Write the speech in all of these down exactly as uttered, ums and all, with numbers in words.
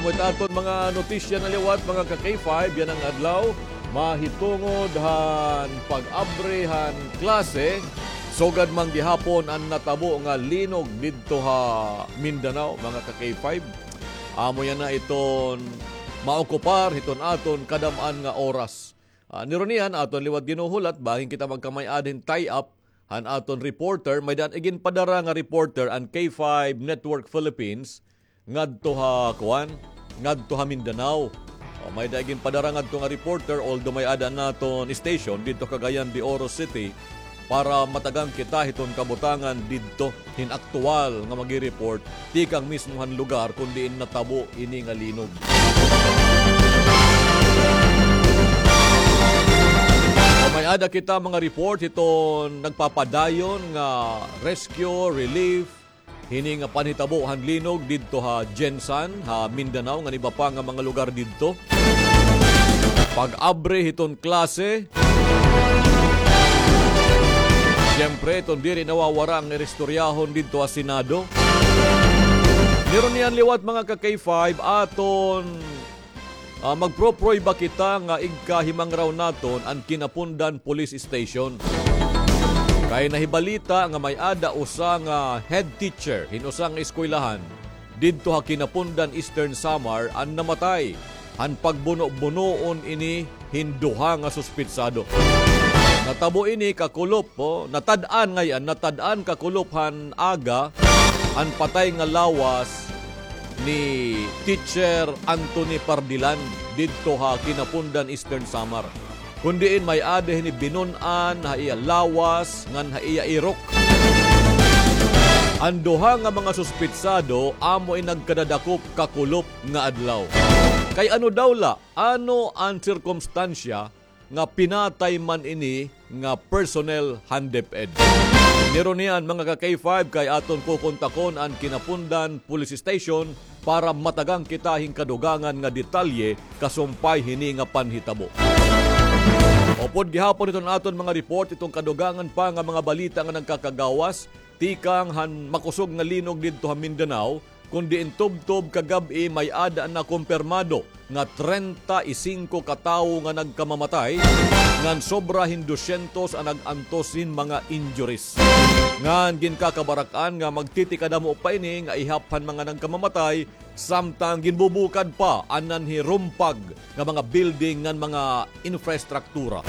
Amo it aton mga notisya na liwat, mga ka-K five, yana nga adlaw. Mahitungod han pag-abri han klase, sugad man gihapon an natabo nga linog didto ha Mindanao, mga ka-K five. Amo yana iton maokupar hiton aton kadam-an nga oras. Ah, nirunian aton liwat ginuhulat, bangin kita magkamay-ada hin tie-up han aton reporter, may-ada iginpadara nga reporter an K five Network Philippines ngadto ha kuan, ngadto ha Mindanao. O, may-ada iginpadara ngadto nga reporter, although may-ada an aton station didto Cagayan de Oro City, para matagan kita hiton kabutangan didto hin aktuwal nga magi-report tikang mismo han lugar kon diin natabo ini nga linog. O, may-ada kita mga report hiton nagpapadayon nga rescue, relief, hini nga panhitabo han linog didto ha GenSan, ha Mindanao, ngan iba pa nga mga lugar didto. Pag-abri hiton klase. Siyempre, iton diri nawawara nga iristoryahon didto ha Senado. Nirunian liwat, mga ka-K five, aton Ah, magpro-prueba kita nga igkahimangraw naton an Quinapondan Police Station. Kay nahibalita nga may-ada usa nga head teacher hin usa nga eskwelahan didto ha Quinapondan, Eastern Samar, an namatay han pagbuno-bunoon ini hin duha nga suspitsado. Natabo ini kakulop, o, natad-an ngay-an, natad-an kakulop han aga an patay nga lawas ni Teacher Anthony Pardilan didto ha Quinapondan, Eastern Samar. Kon diin may-ada hini binun-an ha iya lawas ngan ha iya irok. An duha nga mga suspitsado amo in nagkadadakop kakulop nga adlaw. Kay ano daw la, ano an sirkumstansya nga pinatay man ini nga personnel han DepEd. Nirunian, mga ka-K five, kay aton kukontakon an Quinapondan Police Station para matagan kita hin kadugangan nga detalye kasumpay hini nga panhitabo. Upod gihapon iton aton mga report, iton kadugangan pa nga mga balita nga nagkakagawas tikang han makusog nga linog didto ha Mindanao, kon diin tubtob kagab-i may-ada na kumpirmado nga treinta y cinco ka tawo nga nagkamamatay, ngan sobra hin dosyentos an nag-antos hin mga injuries. Ngan ginkakabarak-an nga magtitikadamo pa ini nga ihap han mga nagkamamatay, samtang ginbubukad pa an nanhirumpag nga mga building ngan mga infrastruktura.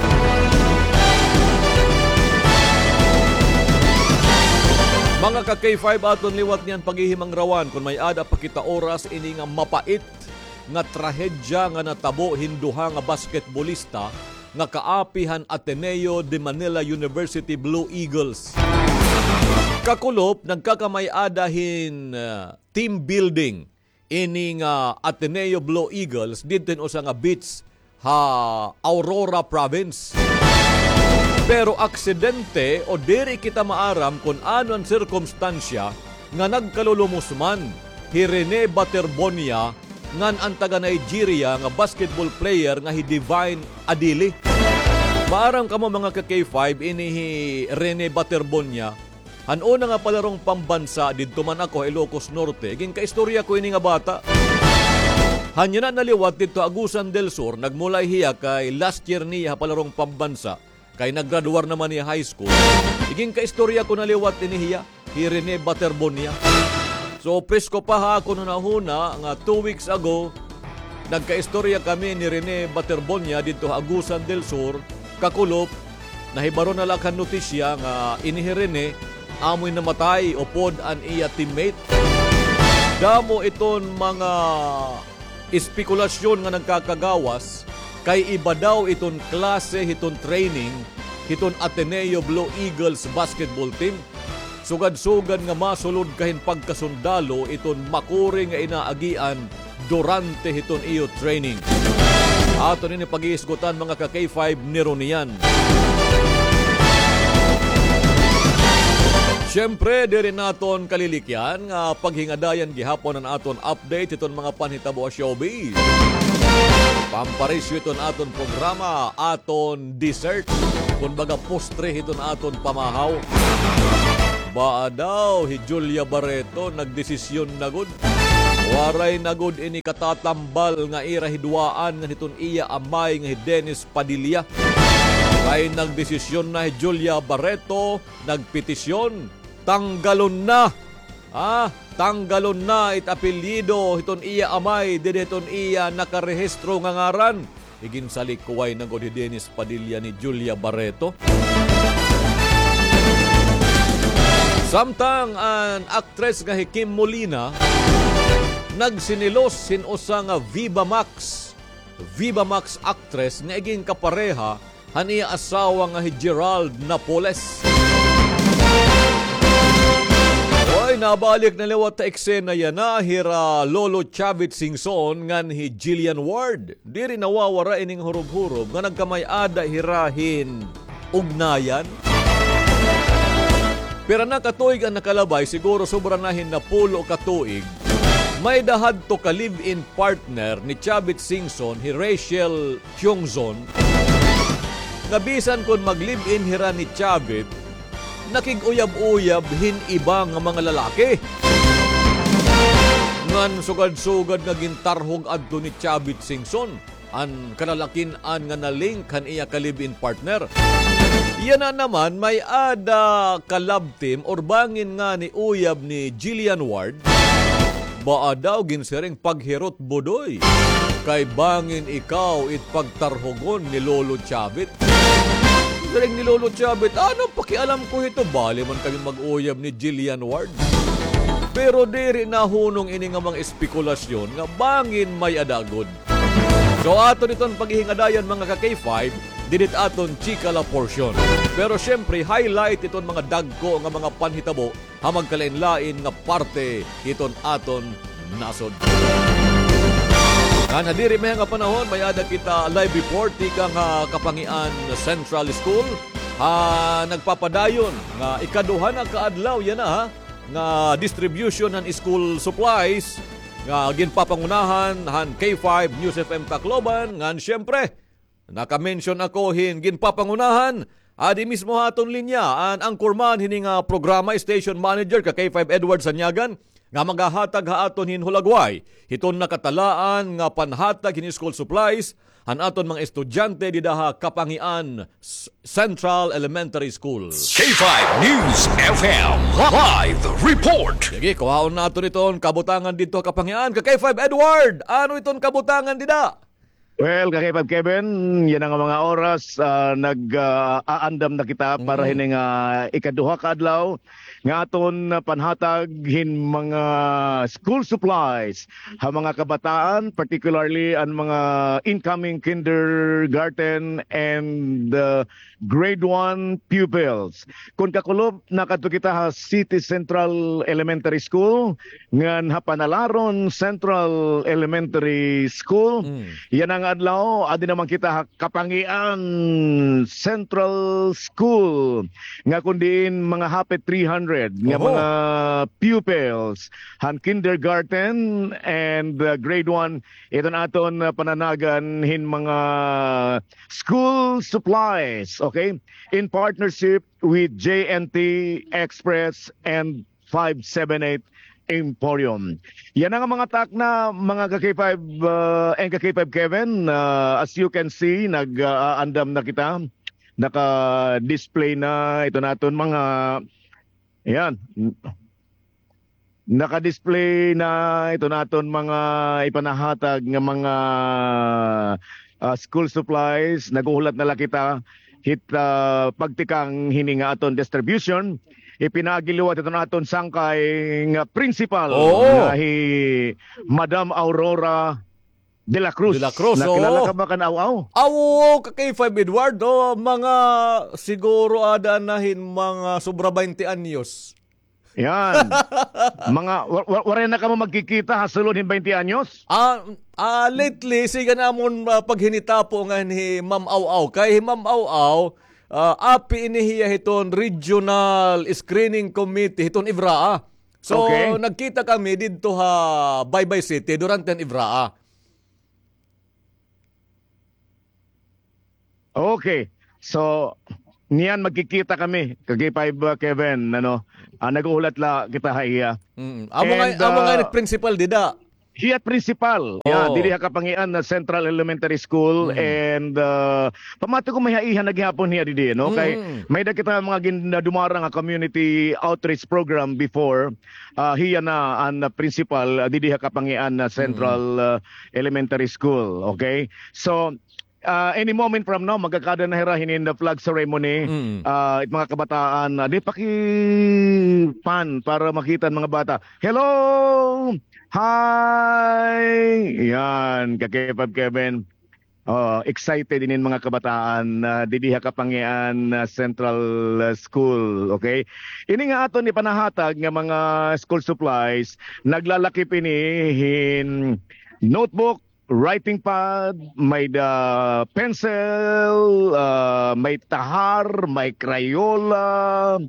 Mga ka-K five, aton liwat niyan paghihimangrawan kon may-ada pa kita oras ini nga mapait nga trahedya nga natabo hin duha nga basketbolista nga kaapi han Ateneo de Manila University Blue Eagles. Kakulop, nagkakamay-ada hin, ah, team building ini nga Ateneo Blue Eagles didto hin usa nga beach ha Aurora Province. Pero aksidente o diri kita maaram kon ano an sirkumstansya nga nagkalulumos man hi Rene Baterbonia ngan an taga-Nigeria nga basketball player nga hi Divine Adili. Maaram kamo, mga ka-K five, ini hi Rene Baterbonia, han una nga palarong pambansa didto man ako ha Ilocos Norte, ginkaistorya ko ini nga bata. Han yana na liwat didto ha Agusan del Sur, nagmulay hiya kay last year niya ha palarong pambansa, kay naggraduar naman hiya high school. Iginkaistorya ko na liwat ini hiya, hi Rene Baterbonia. So, presko pa ha akon hunahuna nga two weeks ago, nagkaistorya kami ni Rene Baterbonia didto ha Agusan del Sur, kakulop, nahibaro na la ak han notisya nga ini hi Rene, amoy namatay upod an iya teammate. Damo iton mga espekulasyon nga nagkakagawas kay iba daw iton klase hiton training hiton Ateneo Blue Eagles basketball team. Sugad-sugad nga masulod ka hin pagkasundalo iton makuri nga inaagian durante hiton iyo training. Aton ini paghihisgutan, mga ka-K five, nirunian. Siyempre, diri naton kalilikyan nga paghingadayan gihapon an aton update hiton mga panhitabo ha showbiz. Pamparisyo hiton aton programa, aton dessert, kumbaga postre hiton aton pamahaw. Baa daw hi Julia Barreto nagdesisyon na gud? Waray na gud ini katatambal nga ira hiduaan ngan hiton iya amay nga hi Dennis Padilla. Kay nagdesisyon na hi Julia Barreto, nagpetisyon, tanggalon na. Ah, tanggalon na it apelyido hiton iya amay didi hiton iya nakarehistro nga ngaran. Iginsalikuway na gud hi Dennis Padilla ni Julia Barreto. Samtang an aktres nga hi Kim Molina nagsinilos hin usa nga Viva Max, Viva Max actress nga iginkapareha han iya asawa nga hi Gerald Napoles. Oy, nabalik na liwat ha eksena yana hira Lolo Chavit Singson ngan hi Jillian Ward. Diri nawawara ini nga hurob-hurob nga nagkamay-ada hira hin ugnayan. Pira na ka tuig an nakalabay, siguro sobra na hin napulo ka tuig. May-ada hadto ka live-in partner ni Chavit Singson, hi Rachel Kyungzon, nga bisan kon mag-live-in hira ni Chavit, nakig-uyab-uyab hin iba nga mga lalaki. Ngan sugad-sugad nga gintarhog adto ni Chavit Singson an kalalakin-an nga na-link han iya ka live-in partner. Yana naman, may-ada ka love team or bangin ngani uyab ni Jillian Ward. Baa daw ginsiring paghirot budoy. Kay bangin ikaw it pagtarhogon ni Lolo Chavit. Siring ni Lolo Chavit, ano pakialam ko hito, bali man kami mag-uyab ni Jillian Ward. Pero diri nahunong ini nga mga espekulasyon nga bangin may-ada gud. So, aton iton paghihingadayan, mga ka-K five, didit aton chika la portion. Pero siyempre, highlight iton mga dagko nga mga panhitabo ha magkalain-lain nga parte hiton aton nasod. Ngan ha diri mahiya nga panahon, may-ada kita live report tikang ha Kapangian Central School ha nagpapadayon nga ikaduha na ka adlaw yana, ha, nga distribution han school supplies nga ginpapangunahan han K five News F M Tacloban, ngan siyempre, naka-mention ako hin ginpapangunahan, adi mismo ha aton linya an anchorman hini nga programa, station manager ka K five Edward Sanyagan, nga magahatag ha aton hin hulagway hiton nakatalaan nga panhatag hin school supplies han aton mga estudyante dida ha Kapangian S-, Central Elementary School. K five News F M live report. Sige, kuhaon naton iton kabutangan didto ha Kapangian. Ka K five Edward, ano iton kabutangan dida? Well, ka K five Kevin, yana nga mga oras, ah, nag, ah, aandam na kita para hini nga ikaduha ka adlaw nga aton panhatag hin mga school supplies ha mga kabataan, particularly an mga incoming kindergarten and, uh, grade one pupils. Kon kakulop, nakadto kita ha City Central Elementary School, ngan ha Panalaron Central Elementary School. Yana nga adlaw, adi naman kita ha Kapangian Central School, nga kon diin mga hapit three hundred nga mga pupils han kindergarten and, uh, grade one, iton aton, uh, pananagan hin mga school supplies, okay? In partnership with J N T Express and five seven eight Emporium. Yana nga mga takna, mga ka K five, uh, and ka K five Kevin, uh, as you can see, nag, uh, aandam na kita. Naka-display na iton aton mga, yan. Naka-display na iton aton mga ipanahatag nga mga, ah, school supplies. Naghuhulat na la kita hit, ah, pagtikang hini nga aton distribution. Ipinaagi liwat iton aton sangkay nga principal nga hi Madam Aurora de la Cruz. De la Cruz, oo. Nakilala ka ba kan Aw-aw? Aw, oo, ka K five Edward, oh, mga siguro ada na hin mga sobra baynte anyos. Yan. Mga, wa-, wa-, waray na kamo magkikita ha sulod hin baynte anyos? Ah, ah, lately, siga namon, ah, paghinitapo ngan hi Ma'am Aw-aw. Kay hi Ma'am Aw-aw, ah, api ini hiya hiton regional screening committee hiton EVRAA. So, nagkita kami didto ha Baybay City durante han EVRAA. Okay. So, niyan magkikita kami, ka K five, uh, Kevin, ano, ah, naghuhulat la kita ha iya. Mm. Amo nga, amo nga, uh, principal dida. Hiya it principal. Yan, didi ha Kapangian na Central Elementary School. Mm. And, ah, pamati ko may haihan na gihapon hiya didi, no? Kay may da kita mga gin-, na dumara nga community outreach program before. Ah, hiya na an, ah, principal, ah, didi ha Kapangian na Central, ah, Elementary School. Okay? So, ah, any moment from now, magkakada na hira hinin the flag ceremony. Mm. Ah, it mga kabataan, ah, di paki-pan para makita an mga bata. Hello! Hi! Yan, ka K five Kevin. Oh, excited inin mga kabataan, ah, didi ha Kapangian, ah, Central, ah, School, okay? Ini nga aton ipanahatag nga mga school supplies, naglalakip ini hin notebook, writing pad, may da pencil, ah, may tahar, may Crayola,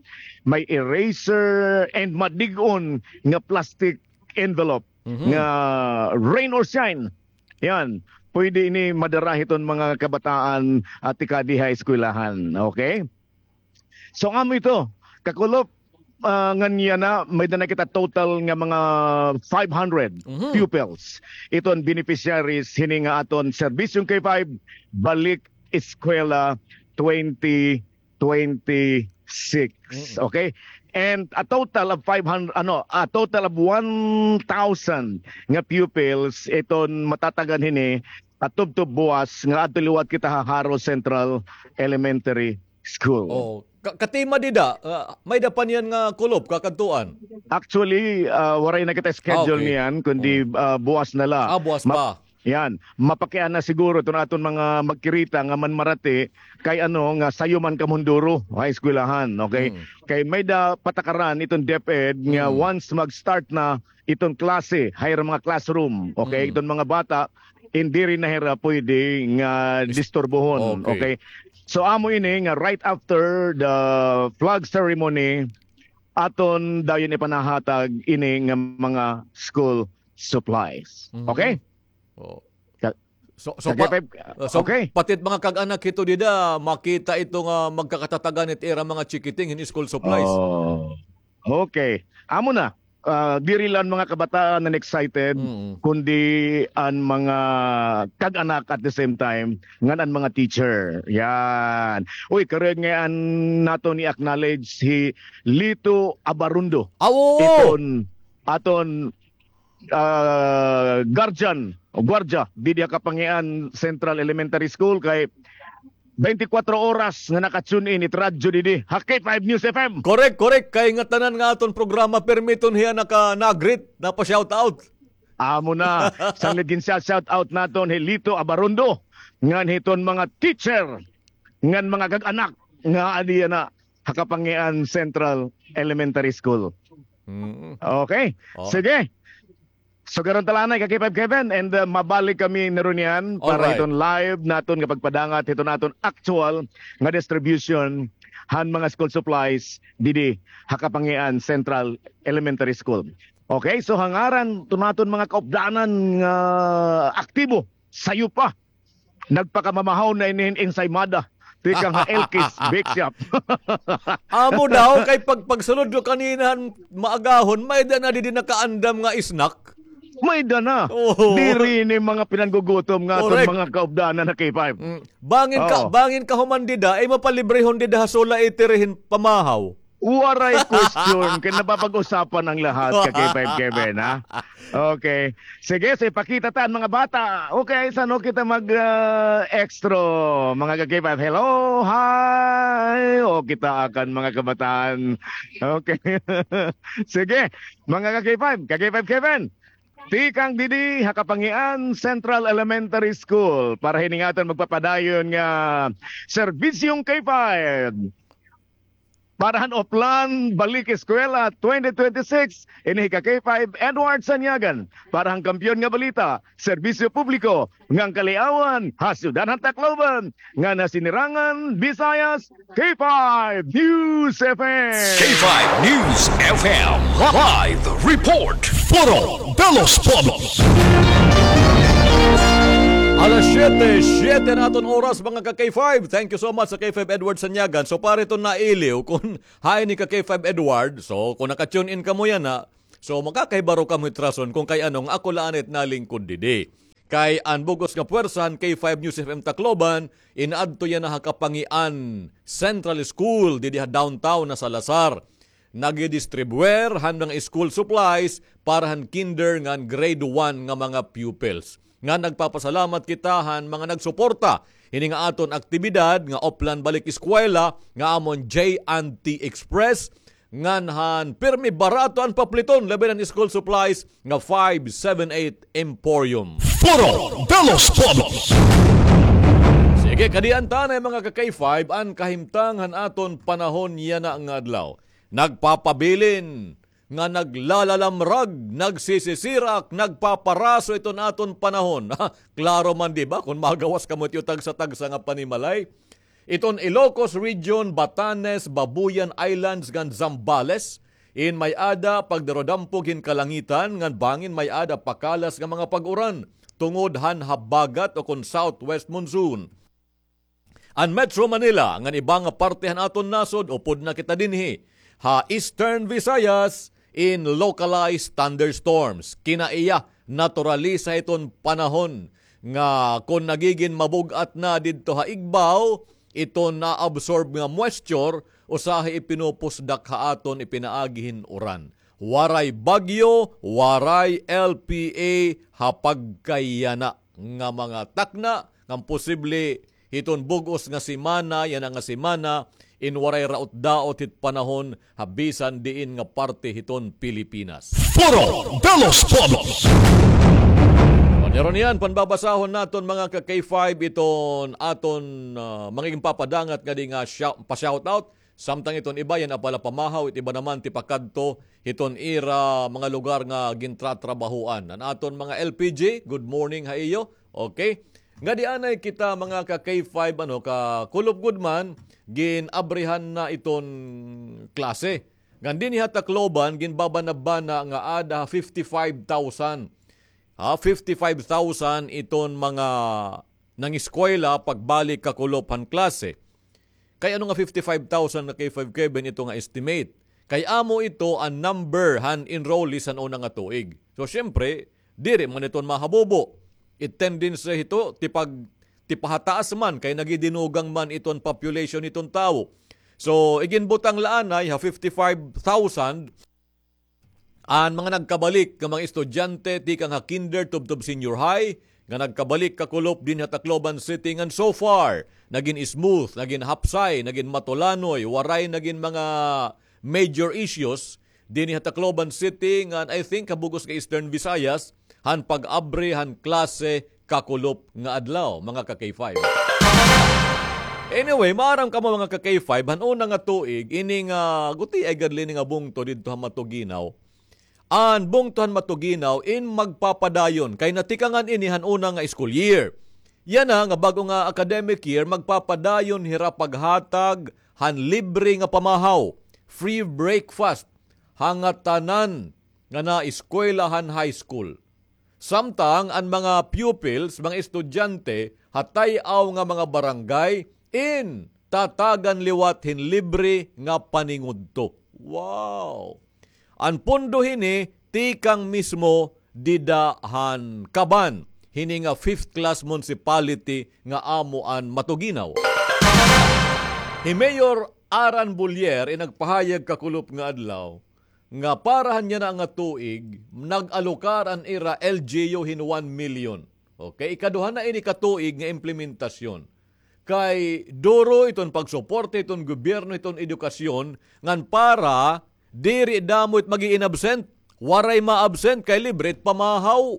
may eraser, and madig-on nga plastic envelope nga rain or shine. Yan. Pwede ini madara hiton mga kabataan, ah, tikadi ha eskwelahan. Okay? So, amo ito, kakulop, ah, ngan yana, may da na kita total nga mga five hundred pupils. Ito an beneficiaries hini nga aton Serbisyong K five, Balik Eskwela twenty twenty-six. Mm. Okay? And a total of five hundred, ano, a total of one thousand nga pupils iton matatagan hini, at tubtob buwas nga adto liwat kita ha Jaro Central Elementary School. Oh, ka-, katima dida, ah, may da pa niyan nga kulop kakadtuan? Actually, ah, waray na kita schedule niyan, kundi, ah, buwas na la. Ah, buwas pa. Yan, mapakiana siguro iton aton mga magkirita nga manmarati kay ano nga sayo man kamo hin duro ha eskwelahan, okay? Mm. Kay may da patakaran iton DepEd nga once mag-start na iton klase ha ira mga classroom, okay? Iton mga bata, diri na hira pwede nga disturbohon, okay? So, amo ini nga right after the flag ceremony, aton dayon ipanahatag ini nga mga school supplies. Okay? Oh. Ka-, so, so, ka-, pa-, okay. So, pati it mga kag-anak hito dida, makita ito nga magkakatatagan it ira mga chikiting hin school supplies. Oh. Okay. Amo na. Ah, diri la an mga kabataan an excited, kundi an mga kag-anak at the same time, ngan an mga teacher. Yan. Uy, karuyag ngay-an naton i-acknowledge hi Lito Abarundo. Ah, oo. Iton aton ah, guardian o guardia didi ha Kapangian Central Elementary School kay twenty-four oras nga naka-tune in it radyo didi ha K five News F M. Correct, correct. Kay ngatanan nga aton programa, pirmi iton hiya naka-nag-greet, napa-shoutout. Amo na. Sanglit gin siya shoutout naton hi Lito Abarundo ngan hiton mga teacher ngan mga kag-anak nga adi yana ha Kapangian Central Elementary School. Mm. Okay. Oh. Sige. Sugaron ta la anay, ka K five Kevin, and, uh, mabalik kami na run niyan para hiton live naton nga pagpadangat hiton aton actual nga distribution han mga school supplies didi ha Kapangian Central Elementary School. Okay, so ha ngaran hiton aton mga kaupdanan nga aktibo, sayo pa, nagpakamamahaw na ini hin ensaymada tikang ha Elkis Bake Shop. Amo daw kay pag, pagsulod ko kanina han maagahon, may-ada na didi nakaandam nga snack. May-ada na. Oo. Diri ini mga pinanggugutom nga aton mga kaupdanan ha K five. Mm. Bangin ka, bangin kahuman dida, ay mapalibrehon dida ha Sola Eatery hin pamahaw. Waray question, kay napapag-usapan an lahat, ka K five Kevin, ha? Okay. Sige, so ipakita ta an mga bata. Okay, san-o kita mag, ah, extra, mga ka K five? Hello, hi! O, kita ak an mga kabataan. Okay. Sige, mga ka K five, ka K five Kevin. Tikang didi ha Kapangian Central Elementary School para hini nga aton magpapadayon nga Serbisyong K five. Para han Oplan Balik Eskwela twenty twenty-six, ini hi ka K five Edward Sanyagan. Para han Kampiyon nga Balita, Serbisyo Publiko ngan Kaliawan ha Syudad han Tacloban, ngan ha Sinirangan, Visayas, K five News F M. K five News F M live report. Foro de los Pueblos. Alas siyete, siyete na aton oras, mga ka K five. Thank you so much sa K five Edward Sanyagan. So, para iton nailiw, kung hain ni ka K five Edward, so, kung naka-tune in kamo yana, So, makakahibaro kamo hit rason kon kay ano nga ako la anay it nalingkod didi. Kay an bug-os nga pwersa han K five News F M Tacloban, inaadto yana ha Kapangian Central School, didi ha downtown na Salazar. Nagdidistribuer han mga school supplies para han kinder ngan grade one nga mga pupils. Nga nagpapasalamat kita han mga nagsuporta hini nga aton aktibidad nga Oplan Balik Eskwela nga amon J and T Express, ngan han pirmi barato an papliton, labi na an school supplies nga five seven eight Emporium. Foro de los Pueblos. Sige, kadi an tanay, mga ka-K five, an kahimtang han aton panahon yana nga adlaw. Nagpapabilin nga naglalalamrag, nagsisisirak, nagpaparaso iton aton panahon. Klaro man, di ba, kon magawas kamo hit iyo tagsa-tagsa nga panimalay. Iton Ilocos Region, Batanes, Babuyan Islands, ngan Zambales, in may-ada pagdarodampog hin kalangitan, ngan bangin may-ada pakalas nga mga pag-uran, tungod han habagat o kon southwest monsoon. An Metro Manila ngan iba nga parte han aton nasod, upod na kita dinhi ha Eastern Visayas in localized thunderstorms. Kinaiya, naturalisa iton panahon nga kon nagigin mabug-at na didto ha igbaw, iton naabsorb nga moisture, usahay ipinupusdak ha aton ipinaagi hin uran. Waray bagyo, waray L P A ha pagkayana nga mga takna, ngan posible hiton bug-os nga semana, yana nga semana, in waray raot-daot hit panahon ha bisan diin nga parte hiton Pilipinas. Foro de los Pueblos. Pero niyan, panbabasahon naton, mga ka-K five, iton aton, ah, mga ginpapadangat ngadi nga shout-, pa-shoutout. Samtang iton iba yana pa la pamahaw, it iba naman tipakadto hiton ira mga lugar nga gintratrabahoan. An aton mga L P G, good morning ha iyo. Okay. Ngadi anay kita, mga ka-K five, ano, ka kulop gud man, gin-abrihan na iton klase. Ngan dinhi ha Tacloban, ginbabanabana nga ada fifty-five thousand. Ha, fifty-five thousand iton mga nangeskwela pagbalik kakulop han klase. Kay ano nga fifty-five thousand nga K five Kevin ito nga estimate? Kay amo ito an number han enrollees han una nga tuig. So, siyempre, diri man iton mahabubo. It tendency hito, tipag-, tipahataas man, kay nagidinugang man iton population hiton tawo. So, iginbutang la anay ha fifty-five thousand, an mga nagkabalik nga mga estudyante tikang ha kinder tubtob senior high, nga nagkabalik kakulop dinhi ha Tacloban City, ngan so far, nagin smooth, nagin hapsay, nagin matulanoy, waray nagin mga major issues dinhi ha Tacloban City, ngan I think ha bug-os nga Eastern Visayas, han pag-abri han klase kakulop nga adlaw, mga ka-K five. Anyway, maaram kamo, mga ka-K five, han una nga tuig, ini nga gutiay gad la ini nga bungto didto ha Matuguinaw. An bungto han Matuguinaw in magpapadayon, kay natikangan ini han una nga school year. Yana nga bag-o nga academic year, magpapadayon hira paghatag han libre nga pamahaw, free breakfast, ha ngatanan nga naeskwela han high school. Samtang an mga pupils, mga estudyante, ha tay-aw nga mga barangay, in tatagan liwat hin libre nga paningudto. Wow! An pondo hini tikang mismo dida han Caban, hini nga fifth class municipality nga amo an Matuguinaw. Hi Mayor Aran Bulier in nagpahayag kakulop nga adlaw nga para han yana nga tuig, nag-alokar an ira L G U hin one million. Okay, ikaduha na ini ka tuig nga implementasyon. Kay duro iton pagsuporta hiton gobyerno hiton edukasyon, ngan para diri damo it mag-iinabsent, waray ma-absent kay libre it pamahaw.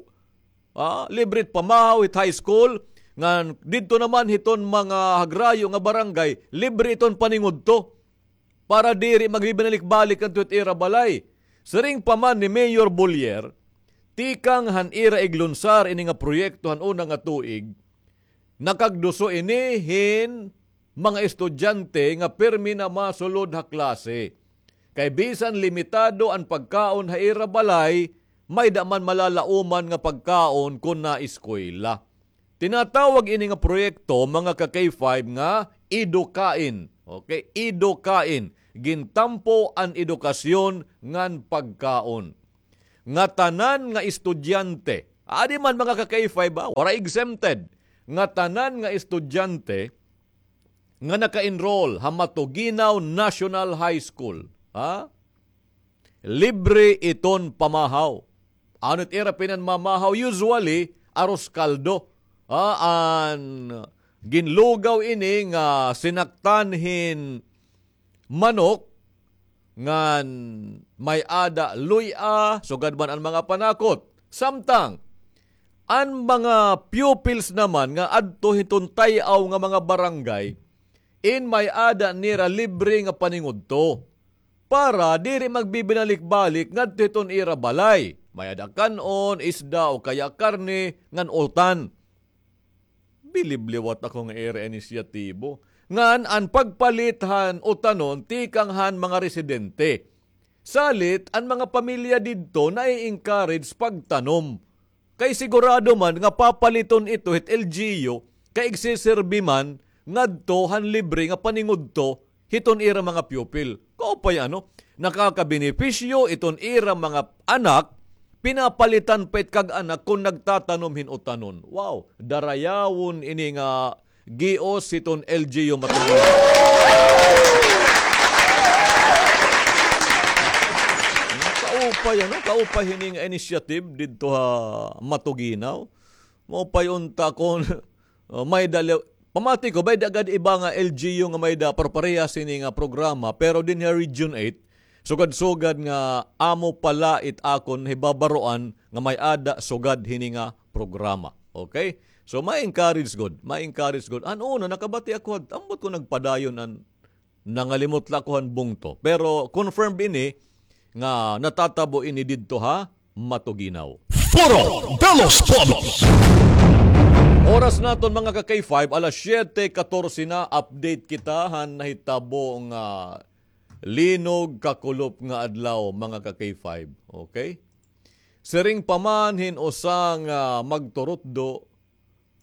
Ah, libre it pamahaw hit high school, ngan didto naman hiton mga hagrayo nga barangay, libre iton paningudto. Para diri magbibinalik-balik ngadto hit ira balay. Siring pa man ni Mayor Bulier, tikang han ira iglunsar ini nga proyekto han una nga tuig, nakagduso ini hin mga estudyante nga pirmi na masulod ha klase. Kay bisan limitado an pagkaon ha ira balay, may-ada man malalaoman nga pagkaon kon naeskwela. Tinatawag ini nga proyekto, mga ka-K five, nga Edukain. Okay? Edukain. Gintampo an edukasyon ngan pagkaon. nga tanan nga estudyante, adi man mga ka-K five, ha, waray exempted, nga tanan nga estudyante nga naka-enroll ha Matuguinao National High School, ha? Libre iton pamahaw. Ano it ira pinanmamahaw? Usually, arroz caldo. Ha, an ginlugaw ini nga sinaktan hin manok, ngan may-ada luy-a, sugad man an mga panakot. Samtang, an mga pupils naman nga adto hiton tay-aw nga mga barangay, in may-ada nira libre nga paningudto. Para diri magbibinalik-balik ngadto hiton ira balay. May-ada kan-on, isda o kaya karne, ngan utan. Bilib liwat ako nga ira inisyatibo. Ngan an pagpalit han utanon tikang han mga residente. Salit, an mga pamilya didto nai-encourage pagtanom. Kay sigurado man nga papaliton ito hit L G U, kay igsiserbi man ngadto han libre nga paningudto hiton ira mga pupil. Kaupay ano, nakakabenepisyo iton ira mga anak, pinapalitan pa it kag-anak kon nagtatanom hin utanon. Wow, darayawon ini nga gios hiton L G U Matuguinao. Kaupay, ano? Kaupay hini nga initiative didto ha Matuguinao. Maupay unta kon, uh, may-ada li-, pamati ko, may-ada gad iba nga L G U nga may-ada parparehas hini nga programa, pero dinhi ha Region eight, sugad-sugad nga amo pala it akon hibabaroan nga may-ada sugad hini nga programa. Okay? So, ma-encourage gud, ma-encourage gud. An una, nakabati ako, ambot ko nagpadayon an nangalimot la ako han bungto. Pero confirmed ini nga natatabo ini didto ha Matuguinao. Foro de los Pueblos. Oras naton, mga ka-K five, alas siyete katorse na, update kita han nahitabo nga linog kakulop nga adlaw, mga ka-K five. Okay? Siring pa man hin usa nga magturutdo,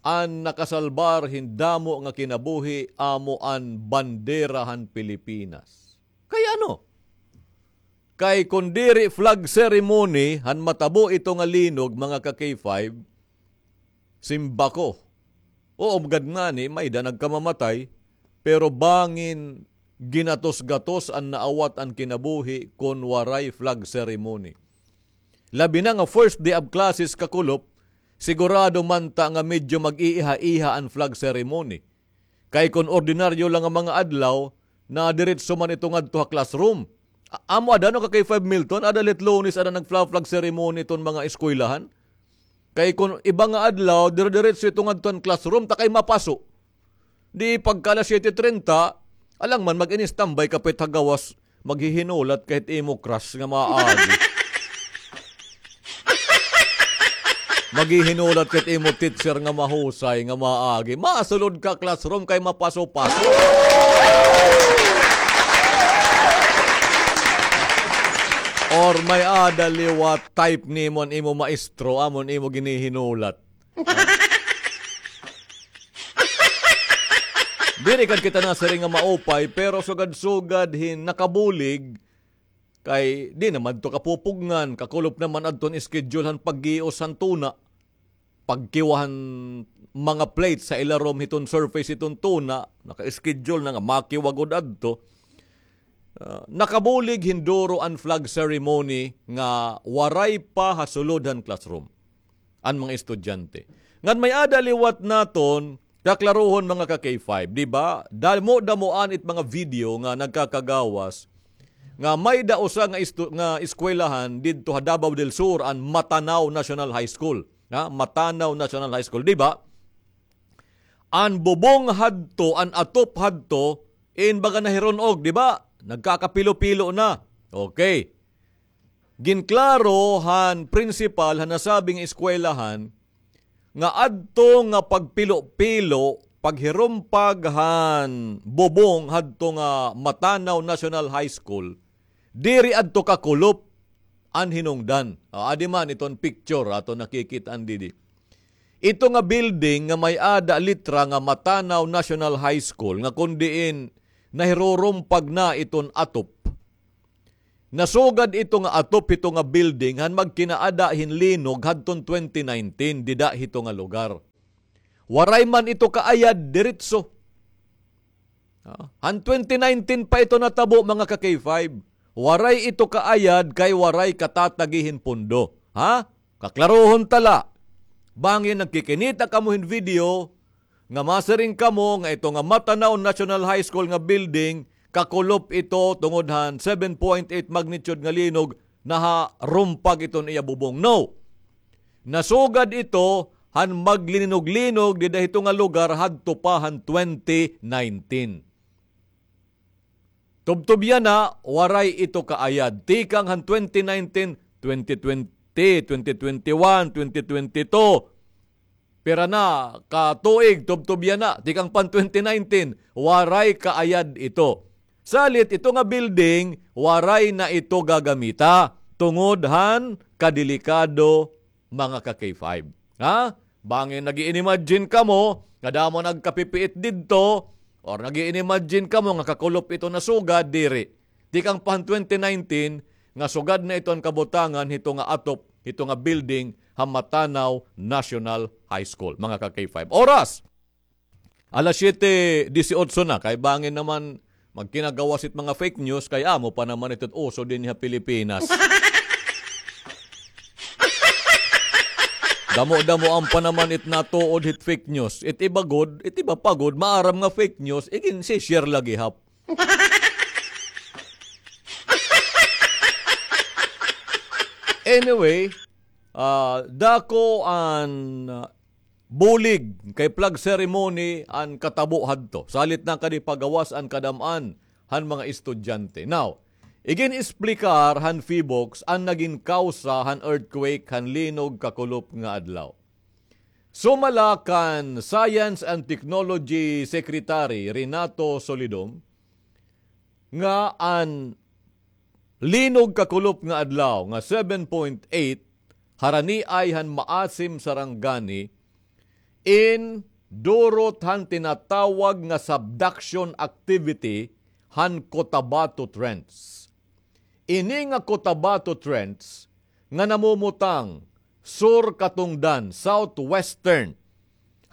an nakasalbar hin damo nga kinabuhi amo an bandera han Pilipinas. Kay ano? Kay kon diri flag ceremony han matabo ito nga linog, mga ka-K five, simba ko. Oo, gad ngani, may-ada nagkamamatay, pero bangin ginatos-gatos an naawat an kinabuhi kon waray flag ceremony. Labi na nga first day of classes kakulop, sigurado man ta nga medyo mag-iiha-iha an flag ceremony. Kay kon ordinaryo lang nga mga adlaw, na diretso man ito ngadto ha classroom. A-, amo ada, no, ka-K five Milton, ada la it Lunes, ada nagfla-flag ceremony iton mga eskwelahan. Kay kon iba nga adlaw, dire-diretso ito ngadto han classroom, ta kay mapaso. Di pagka alas siyete trenta, alang man mag-in-standby ka pa it ha gawas, maghihinulat ka hit imo crush nga maagi. Maghihinulat ka hit imo teacher nga mahusay, nga maagi. Masulod ka classroom kay mapaso-paso. Or may-ada liwat type nimo an imo maestro, amo an imo ginihinulat. Diri gad kita nasiring nga maupay, pero sugad-sugad hin nakabulig, kay di naman to kapupugngan, kakulop naman adton schedule han paggios han tuna. Pagkiwa han mga plates ha ilarom hiton surface hiton tuna, naka-schedule na nga makiwa gud adto. Ah, nakabulig hin duro an flag ceremony nga waray pa ha sulod han classroom an mga estudyante. Ngan may-ada liwat naton kaklarohon, mga ka-K five, di ba? Damo-damoan it mga video nga nagkakagawas nga may-ada usa nga estu-, nga eskwelahan didto ha Davao del Sur, an Matanao National High School. Ha? Matanao National High School, di ba? An bubong hadto, an atop hadto, in baga nahiron-og, di ba? Nagkakapilo-pilo na. Okay. Ginklaro han principal han nasabing eskwelahan nga adto nga pagpilo-pilo, paghirumpag han bubong hadto nga Matanao National High School, diri adto kakulop an hinungdan. O, adi man iton picture aton nakikit-an didi. Ito nga building nga may-ada litra nga Matanao National High School, nga kon diin nahirurumpag na iton atop, nasugad ito nga atop hito nga building han magkinaada hin linog hadton twenty nineteen dida hito nga lugar. Waray man ito kaayad diretso. Ah, han twenty nineteen pa ito natabo, mga ka-K five. Waray ito kaayad kay waray katatagi hin pondo. Ha? Kaklarohon ta la. Bangin nagkikinita kamo hin video nga masiring kamo nga ito nga Matanao National High School nga building, kakulop ito tungod han seven point eight magnitude nga linog, naharumpag iton iya bubong. No. Nasugad ito han maglinog-linog dida hito nga lugar hadto pa han twenty nineteen. Tubtob yana, waray ito kaayad. Tikang han twenty nineteen, twenty twenty, twenty twenty-one, twenty twenty-two. Pira na ka tuig, tubtob yana. Tikang pan twenty nineteen, waray kaayad ito. Salit ito nga building, waray na ito gagamita tungod han kadelikado, mga ka-K five. Ha? Bangin nag-i-imagine kamo nga damo nagkapipiit didto, or nag-i-imagine kamo nga kakulop ito nasugad, diri. Tikang pa han twenty nineteen nga sugad na ito an kabutangan hito nga atop, hito nga building ha Matanao National High School, mga ka-K five. Oras! Alas siyete disiotso na, kay bangin naman magkinagawas it mga fake news, kay amo pa naman ito uso dinhi ha Pilipinas. Damo-damoan pa naman it natuod hit fake news. It iba gud, it iba pa gud, maaram nga fake news, igin-share la gihap. Anyway, ah, dako an, ah, bulig kay flag ceremony an katabo hadto. Salit na kadi pagawas an kadam-an han mga estudyante. Now, igin-esplikar han PHIVOLCS an nagin kawsa han earthquake han linog kakulop nga adlaw. Sumala kan Science and Technology Secretary Renato Solidom, nga an linog kakulop nga adlaw nga seven point eight haraniay han Maasim, Sarangani, in durot han tinatawag nga subduction activity han Cotabato Trench. Ini nga Cotabato Trench nga namumutang sur katungdan, southwestern,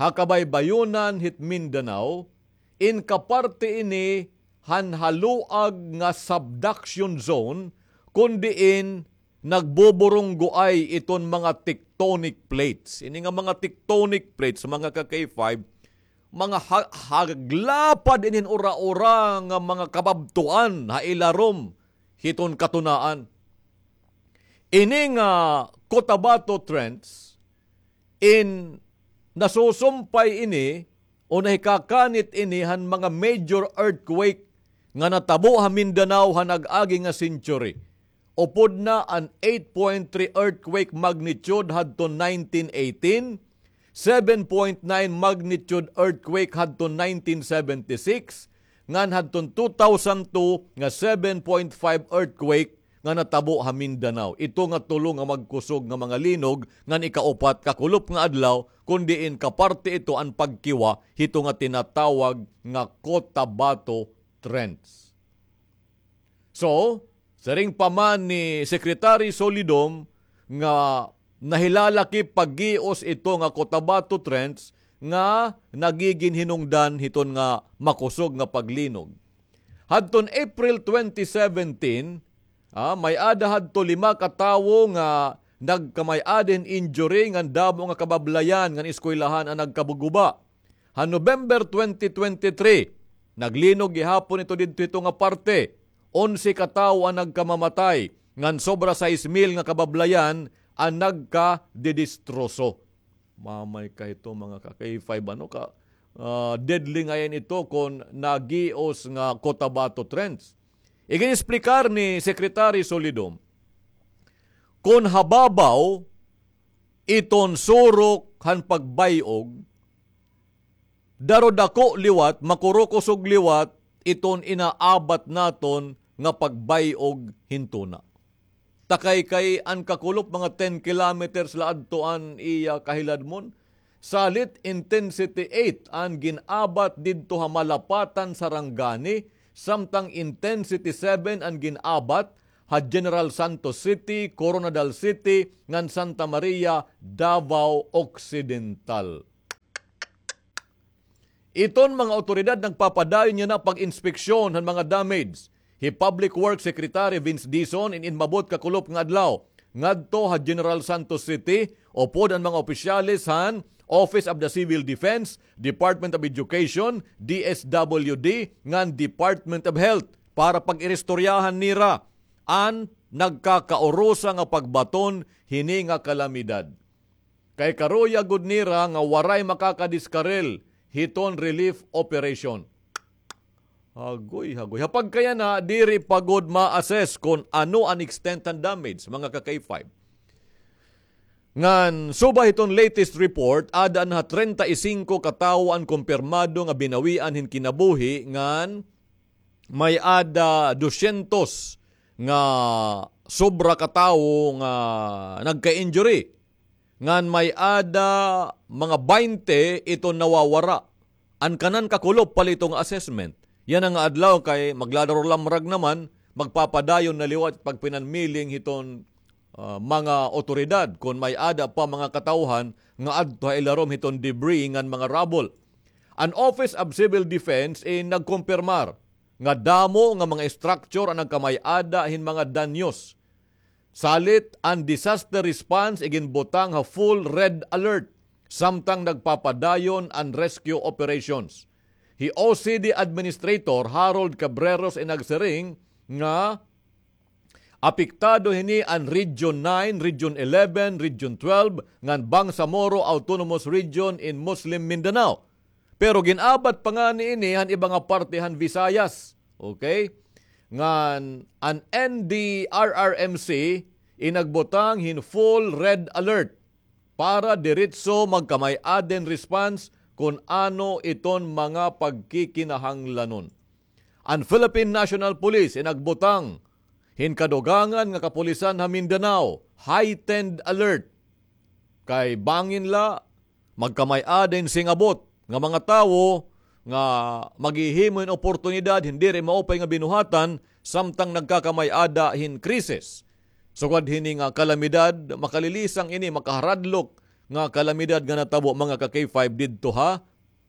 ha kabaybayonan hit Mindanao, in kaparte ini han haluag nga subduction zone, kon diin nagbuburunggoay iton mga tectonic plates. Ini nga mga tectonic plates, mga ka-K five, mga ha-, haglapad ini hin ura-ura nga mga kababtuan ha ilarom hiton katunaan. Ini nga Cotabato Trench, in nasusumpay ini o nahikakanit ini han mga major earthquake nga natabo ha Mindanao ha nag-agi nga century. Upod na an eight point three earthquake magnitude hadton nineteen eighteen, seven point nine magnitude earthquake hadton nineteen seventy-six, ngan hadton two thousand two nga seven point five earthquake nga natabo ha Mindanao. Ito nga tulo nga magkusog nga mga linog ngan ikaupat kakulop nga adlaw, kon diin kaparte ito an pagkiwa hito nga tinatawag nga Cotabato Trench. So, siring pa man ni Secretary Solidom nga nahilalakip paggios ito nga Cotabato Trench nga nagigin hinungdan hiton nga makusog nga paglinog. Hadton April twenty seventeen, ah, may-ada hadto lima ka tawo nga nagkamay-ada hin injury ngan damo nga kabablayan ngan eskwelahan an nagkaguba. Ha November twenty twenty-three, naglinog gihapon ito didto hito nga parte. Onse ka tawo an nagkamamatay, ngan sobra sais mil nga kabablayan an nagkadidistroso. Mamay ka ito, mga ka-K five, ano ka, ah, deadly ngay-an ito kon nagios nga Cotabato Trench. Igin-esplikar ni Secretary Solidom, kon hababaw iton surok han pagbay-og, daro dako liwat, makurukusog liwat iton inaabat naton nga pagbay-og hin tuna. Takay kay an kakulop mga ten kilometers la adto an iya kahiladmon. Salit intensity eight an gin-abat didto ha Malapatan, Sarangani, samtang intensity seven an gin-abat ha General Santos City, Koronadal City, ngan Santa Maria, Davao Occidental. Iton mga awtoridad nagpapadayon yana pag-inspeksyon han mga damage. Hi Public Works Secretary Vince Dizon in inmabot kakulop nga adlaw ngadto ha General Santos City, upod an mga opisyales han Office of the Civil Defense, Department of Education, D S W D, ngan Department of Health para pag-iristoryahan nira an nagkakaurusa nga pagbaton hini nga kalamidad. Kay karuya gud nira nga waray makakadiskarel hiton relief operation. Hagoy, hagoy. Ha pagkayana, diri pa gud ma-assess kon ano an extent han damage, mga ka-K five. Ngan, suba hiton latest report, ada na ha treinta y cinco ka tawo an kumpirmado nga binawian hin kinabuhi, ngan may-ada dosyentos nga sobra ka tawo nga nagka-injury. Ngan may-ada mga baynte iton nawawara. An kanan kakulop palito nga assessment. Yana nga adlaw kay magladaror lamrag naman, magpapadayon na liwat pagpinanmiling hiton, ah, mga otoridad kon may-ada pa mga katawhan nga adto ha ilarom hiton debris ngan mga rubble. An Office of Civil Defense in nagkumpirmar nga damo nga mga structure an nagkamay-ada hin mga danyos. Salit an disaster response iginbutang ha full red alert, samtang nagpapadayon an rescue operations. Hi O C D Administrator Harold Cabreros in nagsiring nga apektado hini an Region nine, Region eleven, Region twelve, ngan Bangsamoro Autonomous Region in Muslim Mindanao. Pero gin-abat pa ngani ini han iba nga parte han Visayas. Okay? Ngan an N D R R M C in nagbutang hin full red alert para diretso magkamay-ada hin response kon ano iton mga pagkikinahanglanon. An Philippine National Police in nagbutang hin kadugangan nga kapulisan ha Mindanao, heightened alert. Kay bangin la, magkamay-ada hin singabot nga mga tawo nga maghihimo hin oportunidad hin diri maupay nga binuhatan samtang nagkakamay-ada hin krisis. Sugad hini nga kalamidad, makalilisang ini, makaharadlok nga kalamidad nga natabo, mga ka-K five, didto ha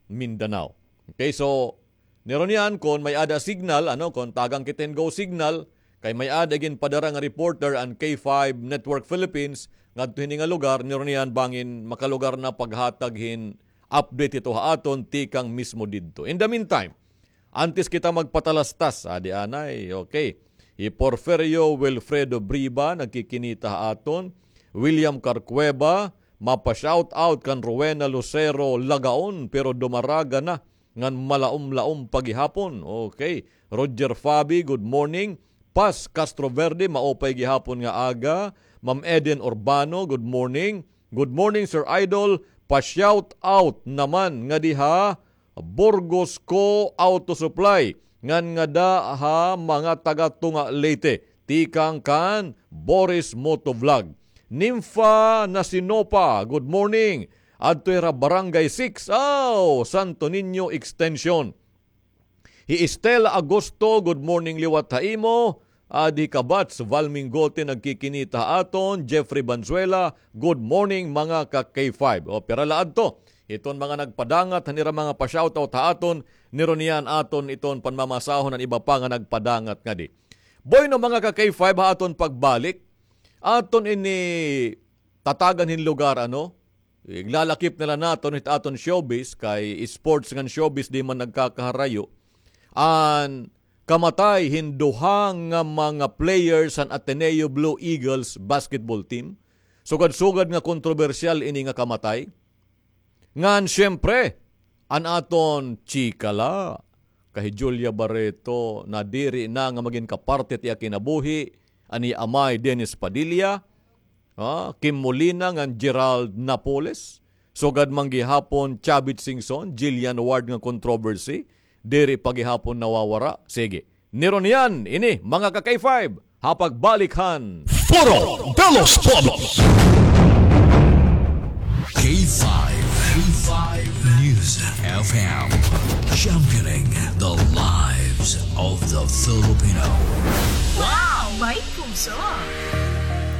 Mindanao. Okay, so, nirunian, kon may-ada signal, ano, kon tagan kita hin go signal, kay may-ada ginpadara nga reporter an K five Network Philippines ngadto hini nga lugar, nirunian bangin makalugar na paghatag hin update hito ha aton tikang mismo didto. In the meantime, antes kita magpatalastas, adi anay, okay. Hi Porfirio Wilfredo Briba, nagkikinita ha aton. William Carcueva, mapa-shout out kan Rowena Lucero Lagaon, pero dumaraga na ngan malaom-laom pa gihapon. Okay. Roger Fabi, good morning. Paz Castroverde, maupay gihapon nga aga. Ma'am Eden Urbano, good morning. Good morning, Sir Idol. Pa-shout out naman ngadi ha Burgos Co. Auto Supply, ngan ngada ha mga taga Tunga, Leyte, tikang kan Boris Motovlog. Nympha Nasinopa, good morning. Adto hira Barangay six, aw, Santo Niño Extension. Hi Estela Agosto, good morning liwat ha imo. Adi Kabats, Val Mingote nagkikinita ha aton. Jeffrey Banzuela, good morning mga ka-K five. O, pira la adto hiton mga nagpadangat han ira mga pa-shoutout ha aton, nirunian aton iton panmamasahon an iba pa nga nagpadangat ngadi. Bueno, mga ka-K five, ha aton pagbalik, aton ini tatagan hin lugar, ano? Iglalakip na la naton hit aton showbiz, kay sports ngan showbiz di man nagkakaharayo. An kamatay hin duha nga mga players han Ateneo Blue Eagles basketball team. Sugad-sugad nga kontrobersyal ini nga kamatay. Ngan, siyempre, an aton chika la, kay hi Julia Barreto, nadiri na nga magin kaparte it iya kinabuhi an iya amay, Dennis Padilla, ah, Kim Molina ngan Gerald Napoles. Sugad man gihapon, Chavit Singson, Jillian Ward nga controversy. Diri pa gihapon nawawara. Sige. Nirunian ini, mga ka-K five, ha pagbalik han Foro de los Pueblos. K five, K five News F M, championing the live Of the Filipino. Wow! May puso!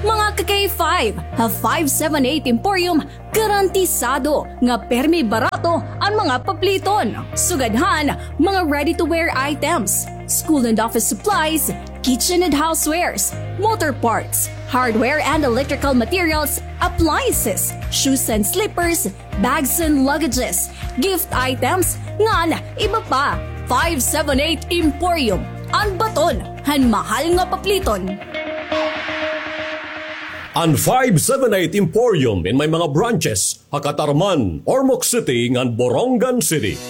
Mga ka-K five, ha five seven eight Emporium, garantisado nga permi barato an mga papliton. Sugad han mga ready-to-wear items, school and office supplies, kitchen and housewares, motor parts, hardware and electrical materials, appliances, shoes and slippers, bags and luggages, gift items, ngan iba pa. Five seven eight Emporium, an baton han mahal nga papliton. An five seven eight Emporium in may mga branches ha Catarman, Ormoc City, ngan Borongan City.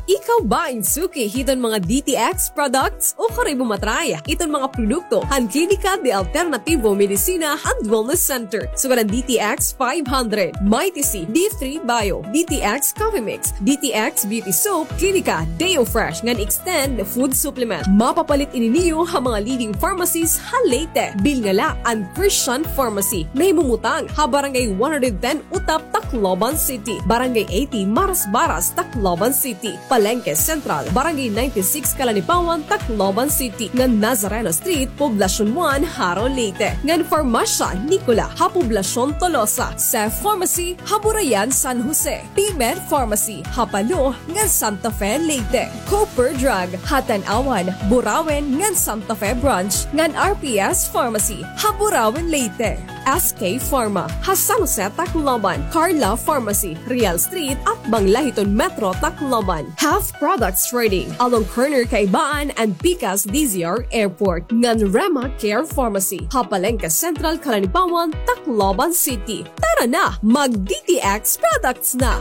Ikaw ba in suki hiton mga D T X products? O karoy mo matry iton mga produkto han Klinika de Alternativo Medicina and Wellness Center. Sugad han D T X five hundred, Mighty C, D three Bio, D T X Coffee Mix, D T X Beauty Soap, Klinika Deo Fresh, ngan Extend Food Supplement. Mapapalit ini niyo ha mga leading pharmacies ha Leyte. Bilnga la an Christian Pharmacy, nahimumutang ha Barangay one hundred ten Utap, Tacloban City, Barangay eighty Marasbaras, Tacloban City, Palenque Central, Barangay ninety-six Calanipawan, Tacloban City, ngan Nazareno Street, Poblacion one, Jaro, Leyte, ngan Farmasya Nicola ha Poblacion Tolosa, Seth Pharmacy ha Burayan, San Jose, T-Med Pharmacy ha Palo ngan Santa Fe, Leyte, Cooper Drug ha Tanauan, Burauen ngan Santa Fe Branch, ngan R P S Pharmacy ha Burauen, Leyte, S K Pharma ha San Jose, Tacloban, Carla Pharmacy, Real Street, atbang la hiton Metro Tacloban, Half Products Trading, along corner Kaibaan and Pikas D Z R Airport, ngan Rema Care Pharmacy ha Palenque Central, Calanipawan, Tacloban City. Tara na, mag-D T X products na!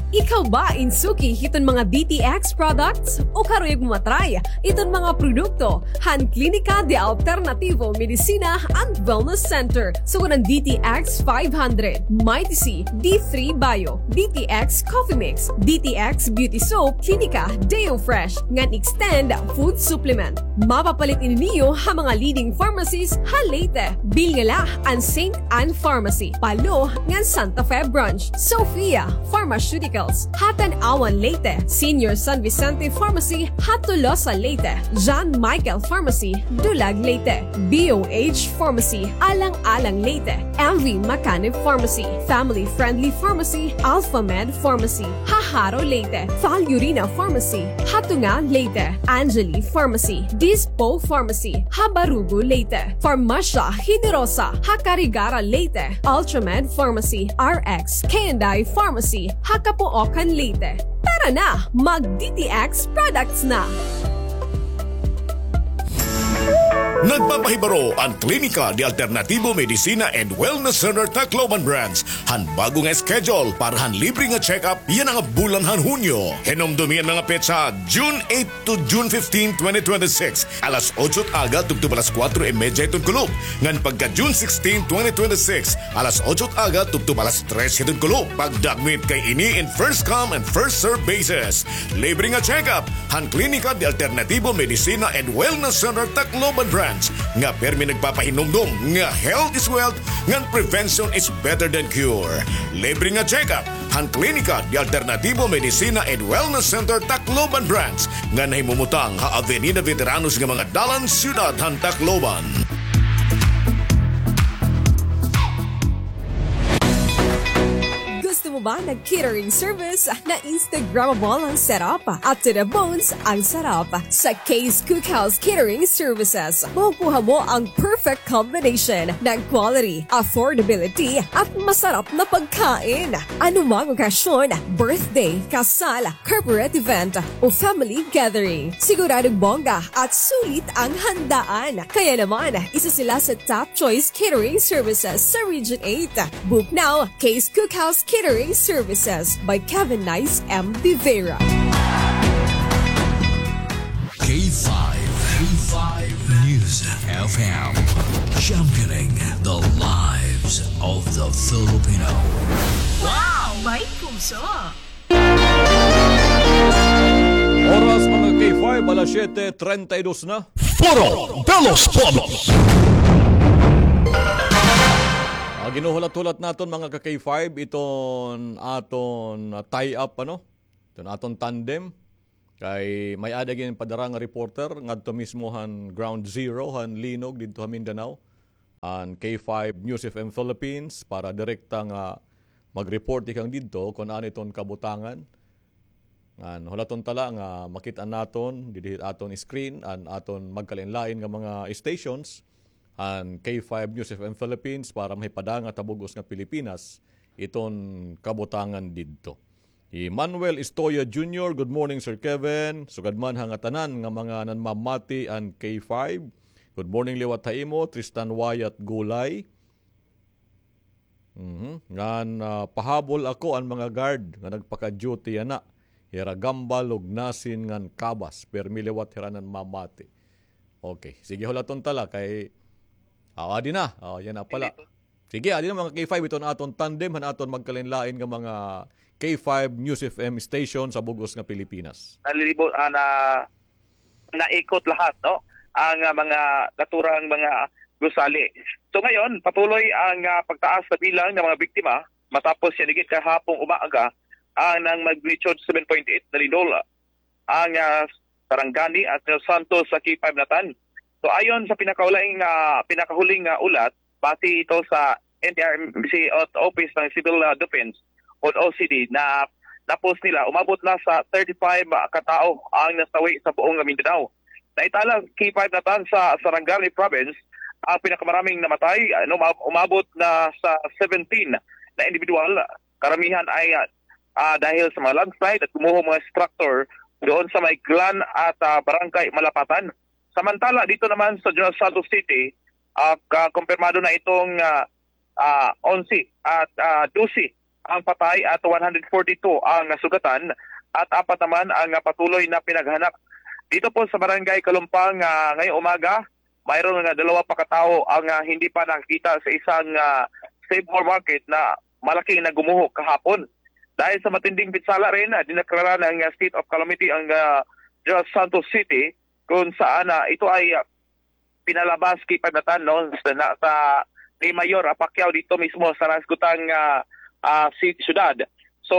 Ikaw ba in suki hiton mga D T X products? O karuyag mo matry iton mga produkto han Klinika de Alternativo Medicina and Wellness Center? Sugad han D T X five hundred, Mighty C, D three Bio, D T X Coffee Mix, D T X Beauty Soap, Klinika Deo Fresh, ngan Extend Food Supplement. Mapapalit ini niyo ha mga leading pharmacies ha Leyte. Bilnga la an Saint Anne Pharmacy, Palo, ngan Santa Fe Branch, Sophia Pharmaceuticals ha Tanauan, Leyte, Senior San Vicente Pharmacy ha Tolosa, Leyte, John Michael Pharmacy, Dulag, Leyte, B O H Pharmacy, Alang-alang, Leyte, M V Macanib Pharmacy, Family Friendly Pharmacy, Alpha Med Pharmacy ha Jaro, Leyte, Val Urina Pharmacy ha Tunga, Leyte, Angeli Pharmacy, Dispo Pharmacy ha Barugo, Leyte, Farmasya Generosa ha Carigara, Leyte, Ultramed Pharmacy, R X K and I Pharmacy ha Capoocan, Leyte. Tara na, mag-D T X products na! Nagpapahibaro an Klinika de Alternativo Medicina and Wellness Center Tacloban Branch han bag-o nga schedule para han libre nga check-up yana nga bulan han Hunyo. Hinumdomi an mga petsa, June eight to June fifteen, twenty twenty-six, alas otso it aga tubtob alas kuwatro y medya hiton kulop, ngan pagka June sixteen, twenty twenty-six, alas otso it aga tubtob alas tres hiton kulop. Pagdagmit kay ini in first come and first serve basis. Libre nga check-up han Klinika de Alternativo Medicina and Wellness Center Tacloban Branch, nga pirmi nagpapahinumdom nga health is wealth, ngan prevention is better than cure. Libre nga check-up han Klinika de Alternativo Medicina and Wellness Center Tacloban Branch, nga nahimumutang ha Avenida Veteranos nga mga dalan, siyudad han Tacloban. Gusto mo ba ng catering service na Instagrammable ang setup at to the bones ang sarap? Sa Kay's Cookhouse Catering Services, makukuha mo ang perfect combination ng quality, affordability, at masarap na pagkain. Anumang okasyon, birthday, kasal, corporate event, o family gathering, siguradong bongga at sulit ang handaan. Kaya naman, isa sila sa top choice catering services sa Region eight. Book now, Kay's Cookhouse Catering Services by Kevin Nice M. De Vera. K five, K five News F M, championing the lives of the Filipino. Wow! May puso! Oras, mga K five, alas siyete treinta y dos na. Foro de los Pueblos. Agi Hinuhulat-hulat naton, mga ka-K five, iton aton, ah, tie-up, ano? Iton aton tandem. Kay may-ada gin padara nga reporter ngadto mismo han Ground Zero han Linog didto ha Mindanao, an K five News F M Philippines, para direkta nga mag-report tikang didto kon ano iton kabutangan. Ngan hulaton ta la nga makit-an naton didi ha aton screen an aton magkalain-lain nga mga stations han K five News F M Philippines para mahipadangag ha bug-os nga Pilipinas iton kabutangan didto. Hi Manuel Istoya Junior, "Good morning, Sir Kevin. Sugad man ha ngatanan nga mga nanmamati an K five. Good morning liwat ha imo, Tristan Wyatt Gulay." Mhm. Ngan, ah, pahabol ako an mga guard nga nagpaka-duty yana. Hira Gamba, Lugnasin, ngan Cabas. Permi liwat hira nanmamati. Okay. Sige, hulaton ta la kay, ah, adi na. Oh, yana pala. Sige, adi na, mga K five, iton aton tandem han aton magkalain-lain nga mga K five News F M station sa bug-os nga Pilipinas. Nalilibo-, ah, na, naikot lahat, no? Ang, ah, mga naturang mga gusali. So ngayon, patuloy ang, ah, pagtaas sa bilang ng mga biktima matapos yanigi kahapong umaga ang nag-magnitude seven point eight na lindol ang, ah, Sarangani at General Santos sa K five Natan. So ayon sa pinakahuling, ah, pinakahuling, ah, ulat, base ito sa N D R M C at Office ng Civil, ah, Defense o O C D na na-post nila, umabot na sa thirty-five, ah, katao ang nasawi sa buong Mindanao. Naitala K five Natan sa Sarangani Province ang pinakamaraming namatay, ano, umab-, umabot na sa seventeen na individual. Karamihan ay, ah, ah, dahil sa mga landslide at gumuho mga structure doon sa may Glan at, ah, Barangay Malapatan. Samantala, dito naman sa General Santos City, ah, ka-, kumpirmado na itong, ah, ah, onse at, ah, dose ang patay at one hundred forty-two ang nasugatan at apat naman ang, ah, patuloy na pinaghahanap. Dito po sa Barangay Kalumpang, ah, ngayong umaga, mayroon nga dalawa pa katao ang, ah, hindi pa nakikita sa isang, ah, Save More Market na malaking nagumuho kahapon. Dahil sa matinding pinsala rin, ah, dineklara ng, ah, state of calamity ang, ah, General Santos City kung saan, ah, ito ay, ah, pinalabas K five Natan, no, sa, na, sa ni Mayor, ah, Pacquiao dito mismo sa nasugtang, ah, ah, si-, syudad. So,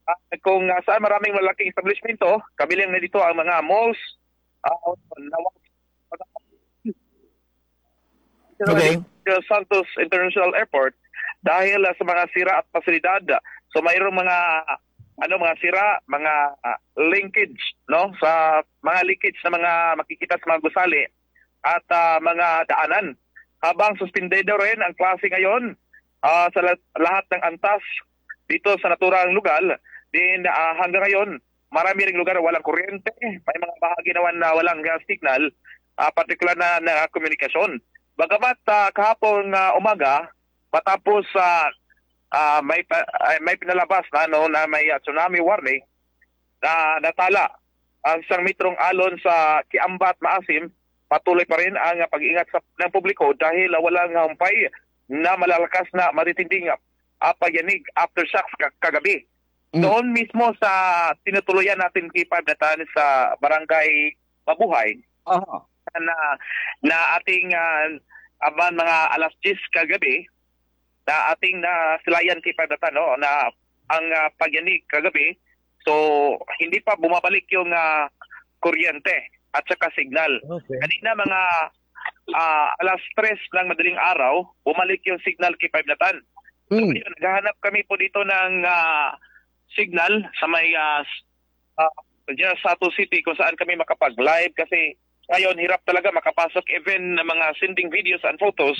ah, kung, ah, saan maraming malaking establishmento, kabilang na dito ang mga malls, ah, nawag-, Okay. Santos International Airport dahil, ah, sa mga sira at pasilidad. So, mayroong mga, ano, mga sira, mga, ah, linkage, no, sa mga leakage na mga makikita sa mga gusali at, ah, mga daanan. Habang suspendido rin ang klase ngayon, ah, sa la-, lahat ng antas dito sa naturang lugar, din, ah, hanggang ngayon, marami ring lugar na walang kuryente, may mga bahagi naman na walang, ah, signal, ah, partikular na, na komunikasyon. Bagamat, ah, kahapon, ah, umaga, matapos, ah, ah, may pa-, ay, may pinalabas na, ano, na may, ah, tsunami warning, na natala ang isang metrong alon sa Kiambat Maasim, patuloy pa rin ang, ah, pag-iingat sa, ng publiko dahil, ah, walang humpay na malalakas na matitinding, ah, ah, pagyanig, aftershocks ka-, kagabi. Mm. Doon mismo sa tinutuluyan natin, K five Natan, sa Barangay Mabuhay, Aha. na, na ating, ah, aban mga alas diyes kagabi, na ating nasilayan, K five Natan, no, na ang, ah, pagyanig kagabi. So, hindi pa bumabalik yung, ah, kuryente at saka signal. Okay. Kanina mga, ah, alas tres ng madaling araw, bumalik yung signal, K five Natan. So, Mm. ngayon, naghahanap kami po dito ng, ah, signal sa may, ah, s-, ah, General Santos City kung saan kami makapag-live kasi ngayon hirap talaga makapasok even ng mga sending videos and photos.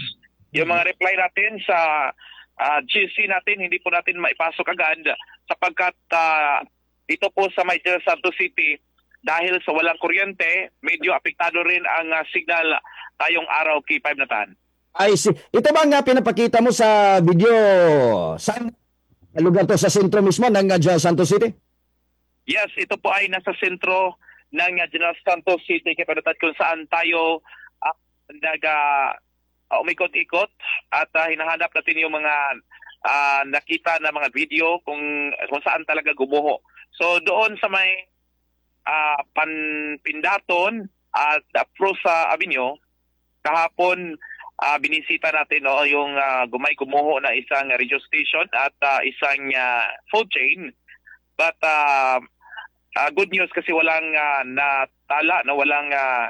Yung mga reply natin sa, ah, G C natin, hindi po natin maipasok agad sapagkat, ah, dito po sa may General Santos City, dahil sa walang kuryente, medyo apektado rin ang, ah, signal ngayong araw, K five Natan. I see. Ito bang, ah, pinapakita mo sa video, saan lugar 'to, sa sentro mismo ng, ah, General Santos City? Yes, ito po ay nasa sentro ng, ah, General Santos City, K five Natan, kung saan tayo, ah, nag, ah, ah, umikot-ikot at, ah, hinahanap natin yung mga, ah, nakita na mga video kung, kung saan talaga gumuho. So, doon sa may, ah, Pan-, Pindaton at, ah, Prosa Avenue, kahapon, ah, binisita natin, no, yung, ah, gumay kumuho na isang radio station at, ah, isang, ah, food chain. But, ah, ah, good news kasi walang, ah, natala, no, walang, ah,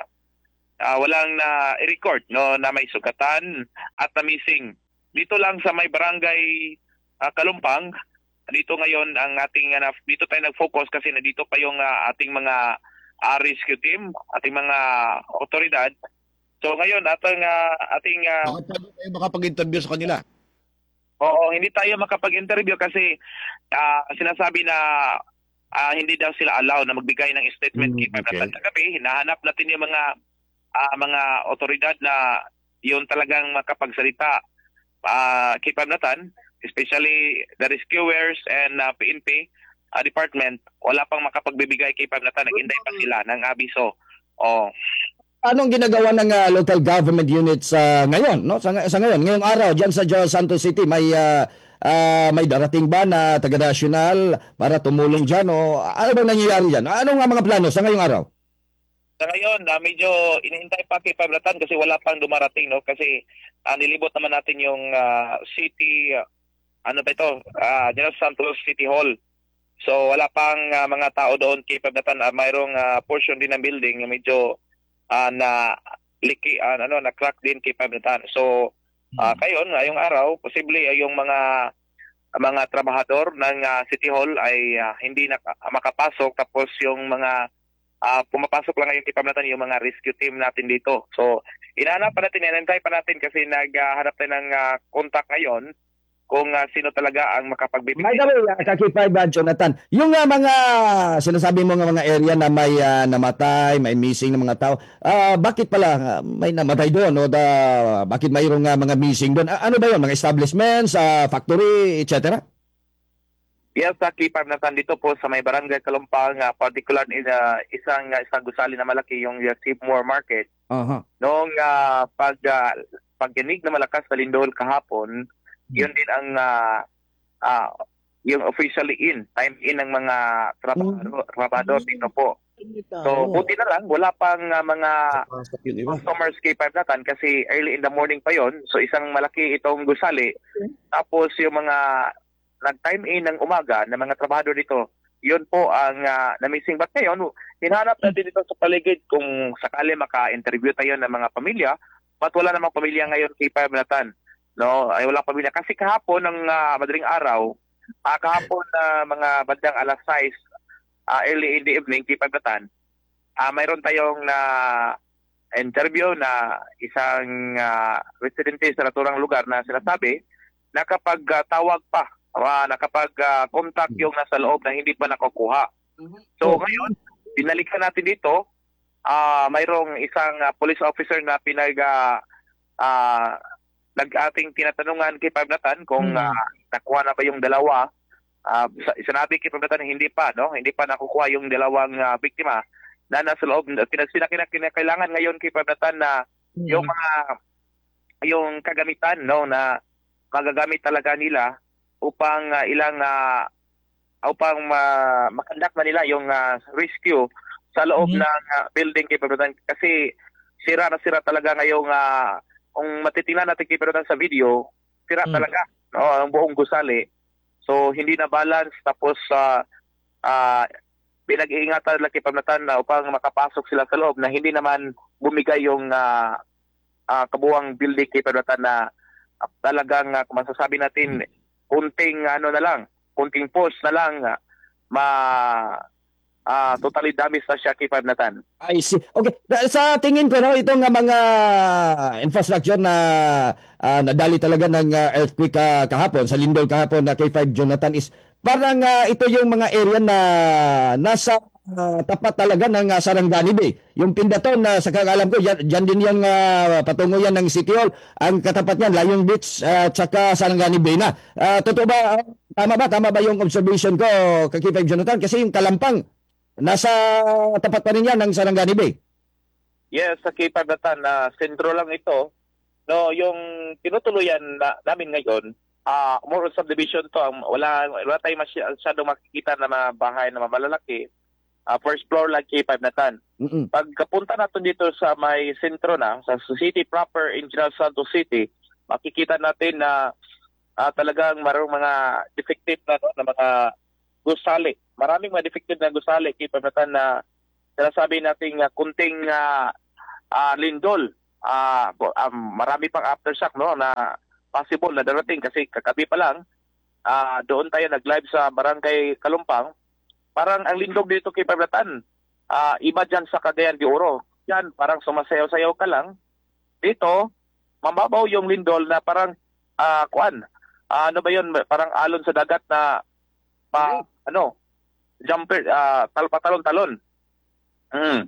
ah, walang na-record, no, na may sugatan at na-missing. Dito lang sa may barangay, ah, Kalumpang, dito ngayon ang ating, ah, na-, dito tayo nag-focus kasi nandito pa yung, ah, ating mga, ah, rescue team, ating mga otoridad. So ngayon, atong, ah, ating, ah, Baka pwede kayo makapag-interview sa kanila. Oo, hindi tayo makapag-interview kasi, ah, sinasabi na, ah, hindi daw sila allow na magbigay ng statement. Mm, kay Pamnatan okay. Kagabi, hinahanap natin yung mga, ah, mga otoridad na yun talagang makapagsalita, ah, kay Pamnatan, especially the rescuers and, ah, P N P, ah, department. Wala pang makapagbibigay kay Pamnatan. Naghintay pa sila ng abiso. Oh. Anong ginagawa ng, ah, local government units, ah, ngayon, no? Sa nga-, sa ngayon, ngayong araw, diyan sa General Santos City, may, ah, ah, may darating ba na taga-nasyonal para tumulong diyan? O ano bang nangyayari diyan? Ano nga mga plano sa ngayong araw? Sa ngayon, ah, medyo inihintay pa kay Pamnatan kasi wala pang dumarating, no? Kasi, ah, nilibot naman natin yung, ah, city, ah, ano ba ito? Ah, General Santos City Hall. So, wala pang, ah, mga tao doon kay Pamnatan. Ah, mayroong, ah, portion din ng building na medyo, ah, na liki, ah, ano, na-crack din kay Pamnatan. So, ah, Mm. kayon, ngayong araw, posible ay yung mga, mga trabahador ng, ah, City Hall ay, ah, hindi na makapasok. Tapos yung mga, ah, pumapasok lang ngayon kay Pamnatan yung mga rescue team natin dito. So, hinahanap pa natin, hinihintay pa natin kasi naghahanap tayo ng, ah, contact ngayon kung, ah, sino talaga ang makapagbibigay. By the way, ah, ka K five, ah, Jonathan, yung, ah, mga sinasabi mo nga mga area na may, ah, namatay, may missing na mga tao, ah, bakit pala, ah, may namatay doon? O da, bakit mayroong, ah, mga missing doon? A-, ano ba yun? Mga establishments, ah, factory, et cetera? Yes, sa K five, Jonathan, dito po sa may Barangay Kalumpang, ah, particular in, ah, isang, ah, isang gusali na malaki, yung, ah, Save More Market. Aha. Noong, ah, pag, ah, pagyanig na malakas na lindol kahapon, Hmm. yun din ang, ah, ah, yung officially in, time in ng mga trabahador, Hmm. trabahador dito po. So, buti na lang, wala pang, ah, mga Papasok yung iba. customers kay Five Natan kasi early in the morning pa yon. So, isang malaki itong gusali. Okay. Tapos, yung mga nag-time in ng umaga na mga trabahador dito, yun po ang, ah, na-missing. But ngayon, hinahanap natin dito sa paligid kung sakali maka-interview tayo ng mga pamilya. But wala namang pamilya ngayon kay Five Natan. No? Ay, walang pamilya. Kasi kahapon, ng, ah, madaling araw, ah, kahapon na mga bandang alas sais, ah, early in the evening, kay Five Natan, ah, mayroon tayong na-interview na isang, ah, residente sa naturang lugar na sinasabi, nakapag, ah, tawag pa, ah, nakapag, ah, contact yung nasa loob na hindi pa nakukuha. So, ngayon, binalikan natin dito, ah, mayroong isang, ah, police officer na pinag, ah, ah, nag-ating tinatanungan kay Five Natan kung, ah, nakuha na ba yung dalawa. Ah, sa-, sinabi kay Five Natan na hindi pa, no? Hindi pa nakukuha yung dalawang, ah, biktima na nasa loob. Kina-, kina-, kina-, kinakailangan ngayon kay Five Natan na yung mga, yung kagamitan, no, na magagamit talaga nila upang, ah, ilang, ah, upang ma-, ma-conduct na nila yung, ah, rescue sa loob ng, ah, building kay Five Natan. Kasi sira na sira talaga ngayong, ah, kung matitingnan natin kay Five Natan sa video, sira talaga, no, ang buong gusali. So, hindi na balance. Tapos, ah, ah, pinag-iingatan nila kay Five Natan na upang makapasok sila sa loob na hindi naman bumigay yung, ah, ah, kabuuang building kay Five Natan na, ah, talagang, ah, kung masasabi natin, konting ano na lang, konting post na lang, ah, ma-, ah, totally damage na siya kay Five Natan. I see. Okay. Na-, sa tingin ko, no, itong, ah, mga infrastructure na, ah, nadali talaga ng, ah, earthquake, ah, kahapon, sa lindol kahapon na kay Five Jonathan is parang, ah, ito yung mga area na nasa, ah, tapat talaga ng, ah, Sarangani Bay. Yung Pindaton, na sa kakalam ko, diyan, diyan din yung, ah, patungo yan ng City Hall. Ang katapat niyan, Layong Beach, ah, tsaka Sarangani Bay na. Ah, totoo ba? Ah, tama ba? Tama ba yung observation ko, ka K five Jonathan? Kasi yung Kalampang, nasa tapat pa rin yan ng Sarangani Bay. Yes, sa K five Natan, ah, sentro lang ito. No, yung tinutuluyan na, namin ngayon, ah, more on subdivision to. Ang, wala, wala tayong masya-, masyadong makikita na mga bahay na malalaki. Ah, first floor lang, K five Nathan. Mm-mm. Pagkapunta natin dito sa may sentro na, sa city proper in General Santos City, makikita natin na, ah, talagang mayroong mga defective na, no, na mga gusali. Maraming mga defective na gusali, K five Nathan, na sinasabi natin nga kunting, ah, ah, lindol. Ah, bo-, ah, marami pang aftershock, no, na possible na darating kasi kagabi pa lang, ah, doon tayo nag-live sa Barangay Kalumpang. Parang ang lindol dito, K five Nathan, ah, iba diyan sa Cagayan de Oro. Diyan, parang sumasayaw-sayaw ka lang. Dito, mababaw yung lindol na parang, ah, kuan, ah, ano ba yun? Parang alon sa dagat na pa, ano, jumper, ah, tal-, patalon-talon. Mm.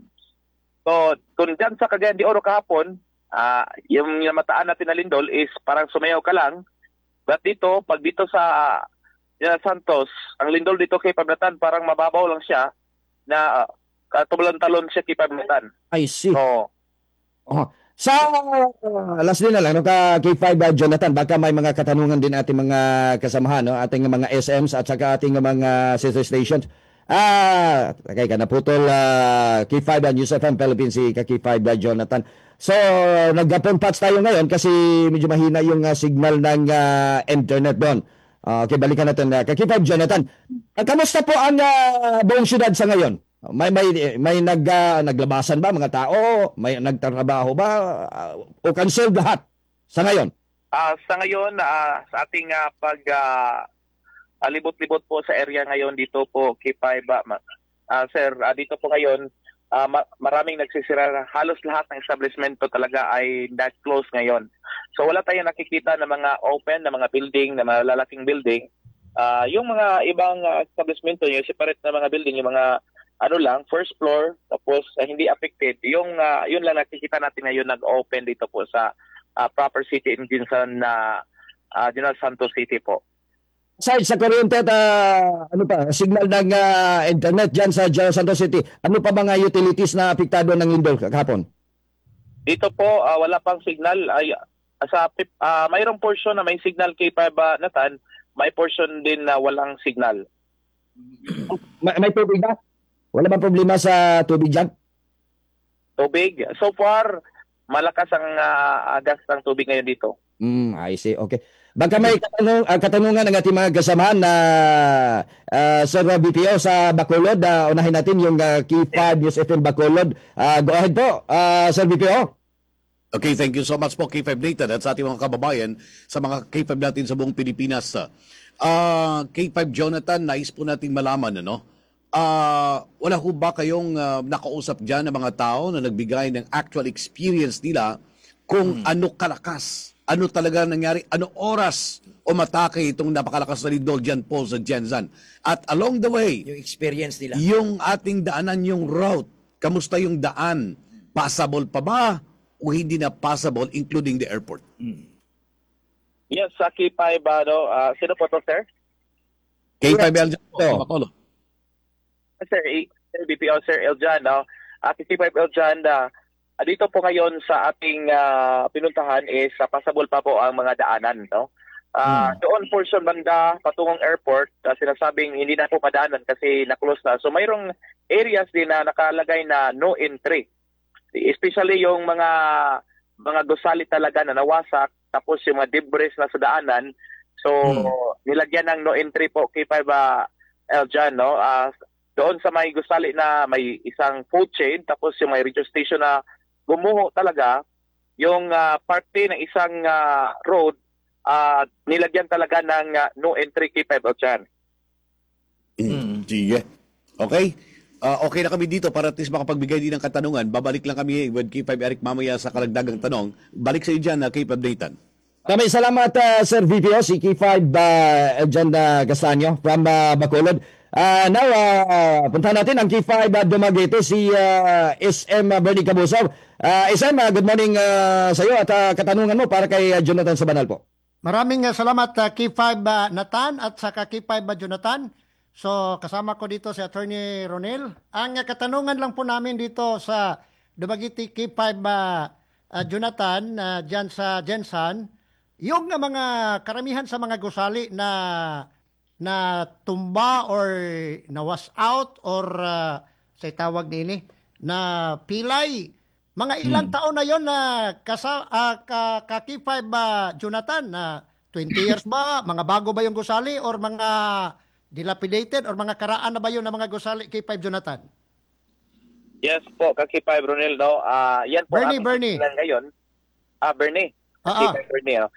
So, kung diyan sa Cagayan de Oro kahapon, ah, yung namataan natin na lindol is parang sumayaw ka lang. But dito, pag dito sa, ah, General Santos, ang lindol dito, K five Nathan, parang mababaw lang siya na, ah, katalon-talon siya, K five Nathan. I see. Oo. Oh. Sa, ah, lastly na lang, no, ka K five, ah, Jonathan, baka may mga katanungan din ating mga kasamahan, no, ating mga S Ms at saka ating mga sister stations. Ah, okay, ka naputol, ah, K five, ah, News F M Philippines, si ka K five, ah, Jonathan. So, nagpa-phone patch tayo ngayon kasi medyo mahina yung, ah, signal ng, ah, internet doon. Ah, okay, balikan natin, ah, ka K five, Jonathan. Ah, kamusta po ang, ah, buong syudad sa ngayon? May, may, may nag-, ah, naglabasan ba mga tao? May nagtatrabaho ba? Ah, o cancel lahat sa ngayon? Ah, sa ngayon, ah, sa ating, ah, pag, ah, ah, libot-libot po sa area ngayon dito po, K five, ah, ma-, ah, sir, ah, dito po ngayon, ah, ma-, maraming nagsisira. Halos lahat ng establishmento talaga ay nag-close ngayon. So, wala tayong nakikita na mga open, na mga building, na malalaking building. Ah, yung mga ibang, ah, establishmento, yung separate na mga building, yung mga ano lang, first floor, tapos, ah, hindi affected. Yung, ah, yun lang nakikita natin ngayon nag-open dito po sa, ah, proper city in Gensan na, ah, General Santos City po. Aside sa kuryente at, ah, ano pa, signal ng, ah, internet diyan sa General Santos City, ano pa mga utilities na apektado ng lindol kahapon? Dito po, ah, wala pang signal. Ay, sa pip-, ah, mayroong portion na may signal, K five, ah, Nathan, may portion din na walang signal. May, may tubig ba? Wala bang problema sa tubig diyan? Tubig? So far, malakas ang, ah, agas ng tubig ngayon dito. Mm, I see. Okay. Baka may katanung-, ah, katanungan ang ating mga kasamahan na, ah, Sir V P O sa Bacolod. Ah, unahin natin yung, ah, K five News F M Bacolod. Ah, go ahead po, ah, Sir V P O. Okay, thank you so much po, K five Nathan, at sa ating mga kababayan, sa mga K five natin sa buong Pilipinas. Ah, K five Jonathan, nais po nating malaman, ano? Ah, wala ho ba kayong, ah, nakausap diyan na mga tao na nagbigay ng actual experience nila kung ano kalakas, ano talaga nangyari, ano oras umatake itong napakalakas na lindol diyan po sa Gensan? At along the way, yung experience nila, yung ating daanan, yung route, kamusta yung daan? Passable pa ba o hindi na passable, including the airport? Yes, sa K five, ano, ah, sino po to, sir? K five L Jan po. Bacolod. Sir, i-, Sir V P O, Sir Eljan, no? Ah, K five Eljan, ah, ah, dito po ngayon sa ating, ah, pinuntahan is, ah, passable pa po ang mga daanan, no? Ah, doon portion banda patungong airport, ah, sinasabing hindi na po madaanan kasi na-close na. So, mayroong areas din na nakalagay na no entry. Especially yung mga, mga gusali talaga na nawasak, tapos yung mga debris na sa daanan. So, nilagyan ng no entry po, K five, ah, Eljan, no? Ah, doon sa may gusali na may isang food chain, tapos yung may radio station na gumuho talaga, yung, ah, parte ng isang, ah, road, ah, nilagyan talaga ng, ah, no entry, K five Eljan. Mm, sige. Okay. Ah, okay na kami dito para at least makapagbigay din ng katanungan. Babalik lang kami with K five Eric mamaya sa karagdagang tanong. Balik sa iyo diyan, ah, K five Nathan. Maraming salamat, ah, Sir V P O, si K five, ah, Eljan, ah, Castaño from, ah, Bacolod. Ah, now, ah, puntahan natin ang K five, ah, Dumaguete, si, ah, S M, ah, Bernie Cabusao. Ah, S M, ah, good morning, ah, sa iyo at, ah, katanungan mo para kay, ah, Jonathan Sabanal po. Maraming, ah, salamat, ah, K five, ah, Nathan at saka K five, ah, Jonathan. So, kasama ko dito si Attorney Ronel. Ang, ah, katanungan lang po namin dito sa Dumaguete, K five, ah, ah, Jonathan, ah, diyan sa Gensan, yung, ah, mga karamihan sa mga gusali na natumba or na-wash out or, ah, sa itawag niini, na pilay. Mga ilang taon na yon na kasa, ah, ka, ka K five ba, Jonathan? Na twenty years ba? Mga bago ba yung gusali or mga dilapidated or mga karaan na ba yun na mga gusali, K five, Jonathan? Yes po, ka K five, Ronel, no? Ah, yan po Bernie, ang Bernie. Lang ngayon. Ah, Bernie. Ah, ah. K five Bernie, oh.